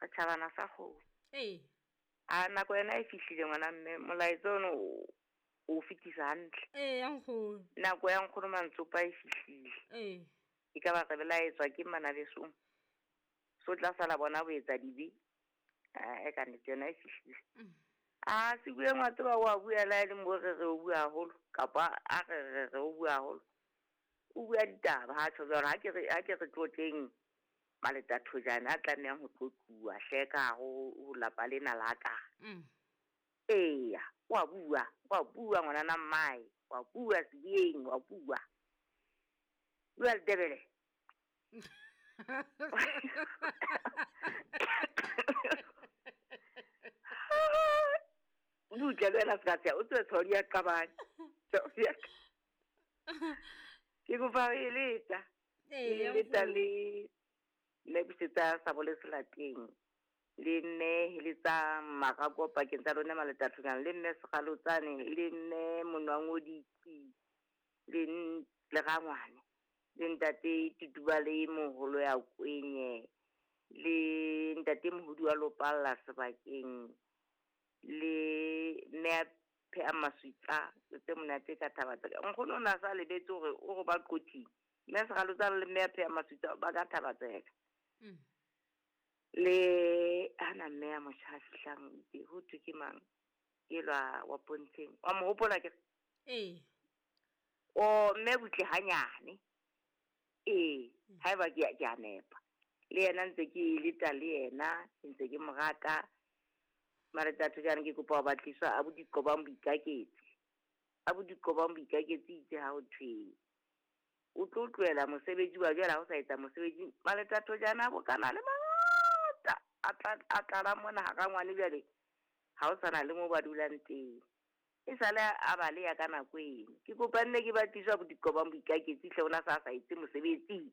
Setjhabana sa kgomo. Ee. A nako yona e fihlile ngwana mme, molaetsa ono o fetisa hantle. Ee, ya nkgono. Nako ya nkgono Mantsopa e fihlile. Ee. E ka ba re belaetswa ke manabesong. So tla sala bona bo etsa dibe. E ka nnete yona e fihlile. A se bue ngwa tseba wa bua la e leng bo re re o bua haholo kapa a re re re o bua haholo. O bua ditaba ha tjho jwalo, ha ke re tlotleng Maletathojane a tlamehang ho tlotluwa hle ka hare ho lapa lena la ka. Eya, wa bua ngwanana mmae, wa bua Sebiyeng, wa bua. Bua Letebele. Butle le wena se ka tsheha, o tswe tshwao di a qabane. Ke kopa ho eletsa. Ee, Ke eletsa le mme busetsa sa bole selateng. Le mme heletsa marako pakeng tsa lona Maletathojane, le mme Sekgalotsane, le mme Monwangodiqi, le rangwane, le ntate Tutuba le moholo ya Kwenye, le ntate Mohodi wa Lopalla sebakeng, le mme a pheha maswitsa tse monate ka thaba tseka. Nkgono o na sa lebetse hore o re ba qothing. Mme Sekgalotsane le mme a pheha maswitsa ba ka thaba tseka. Le hana mme ya motjha a fihlang itse ho thwe ke mang elwa wa Pontsheng, wa mo hopola ke? Ee. O mme butle hanyane. Ee, haeba ke a nepa. Le yena ntse ke leta le yena, ntse ke mo rata. Maletathojane ke kopa ho batliswa a bodiqobang boikaketsi. A bodiqobang boikaketsi itse ha ho thwe o tlo tlohela mosebetsi wa jwale ha o sa etsa mosebetsi. Maletathojane a bokana le mangata a tlala mona hara ngwane jwale ha o sana le moo ba dulang teng. E sale a baleha ka nako eno. Ke kopa nne ke batliswa bodiqobang boikaketsi hle ona sa etse mosebetsi.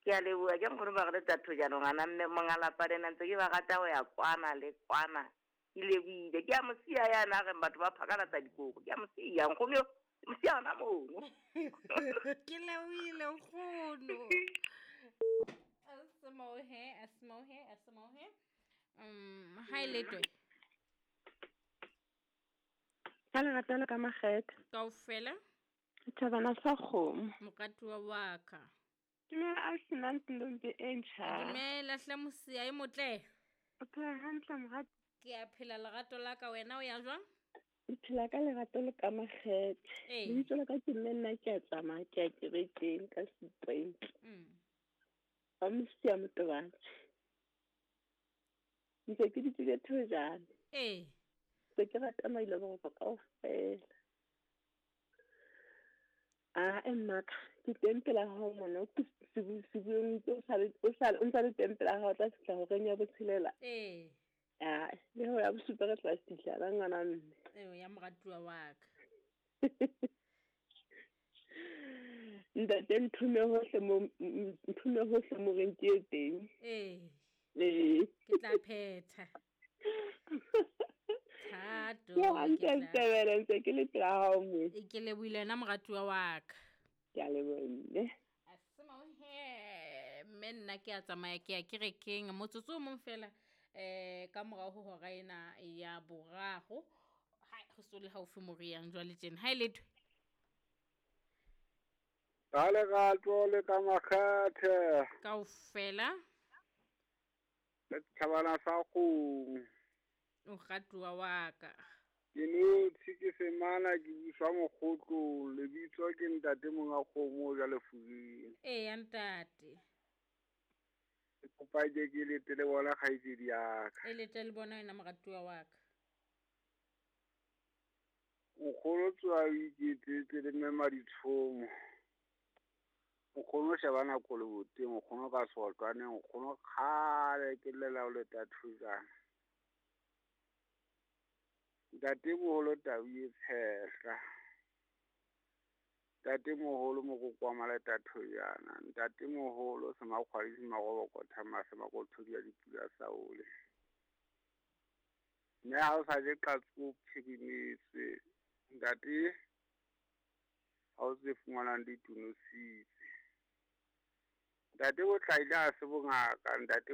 Ke a leboha, ke nkgono ba re Letathojane ngwana mme monga lapa lena ntse ke ba rata ho ya kwana le kwana. Ke lebohile. Ke a mo siya yana a reng batho ba phakalatsa dikobo. Ke a mo siya nkgono yo. Mo siya hona mono. Ke lebohile nkgono. Asimohe. Ha e letwe. Ka lerato le ka makgethe. Kaofela. Thabana sa kgomo. Moratuwa wa ka. Dumela a senang ntombi e ntjha. Dumela hle Mosia e motle. O phela hantle morati. Ke a phela lerato la ka, wena o ya jwang? Ke phela ka lerato le ka makgethe. Lebitso la ka ke mme nna ke a tsamaya ke ya kerekeng ka Sepreng. Ba Mosia Motobatsi. Ntse ke dutse Thojane. Ee. Ntse ke rata mailo boroko kaofela. A mmaka ke teng pela hao mona, ke sebueng o ntsa le teng pela hao tla fihla horeng ya botshelela. Ee. A le ho ya bosupa re tla fihla la ngwana mme. Ee, ya moratuwa wa ka. Ntate nthume hohle mo reng ke teng. Ee. Ee. Ke tla phetha. Thato. Ke ntse ke le pela hao mo. Ke lebohile wena moratuwa wa ka. Ke a leboha mme. Asimohe mme nna ke a tsamaya ke ya kerekeng motsotso o mong fela ka morao ho hora ena ya boraro. Ha re so le haufi mo re yang jwale tjena. Ha e lethwe. Ka lerato le ka makgethe. Kaofela. Le thabana sa kgomo. O ratuwa wa ka. Ke notshi ke semana ke buswa mokgotlong, lebitso ke ntate monga kgomo ja lefuring. Ee ya ntate. Ke kopa ke lete le bona kgaitsedi ya ka. E lete le bona wena moratuwa wa ka. Nkgono tswa o iketsetse le mme Maditshomo. Nkgono sheba nako le boteng, nkgono ka sotwane, nkgono kgale ke llela ho Letathojane. Ntate moholo tau e tshehla. Ntate moholo mokoko wa Maletathojana. Ntate moholo semakgwadi semarobokotha mahlo makothodi a dipula saole. Mme ha o sa je qatsi o phirimetswe. Ntate ha o tse fumanang di tonositse. Ntate o tlaile ha se bongaka, ntate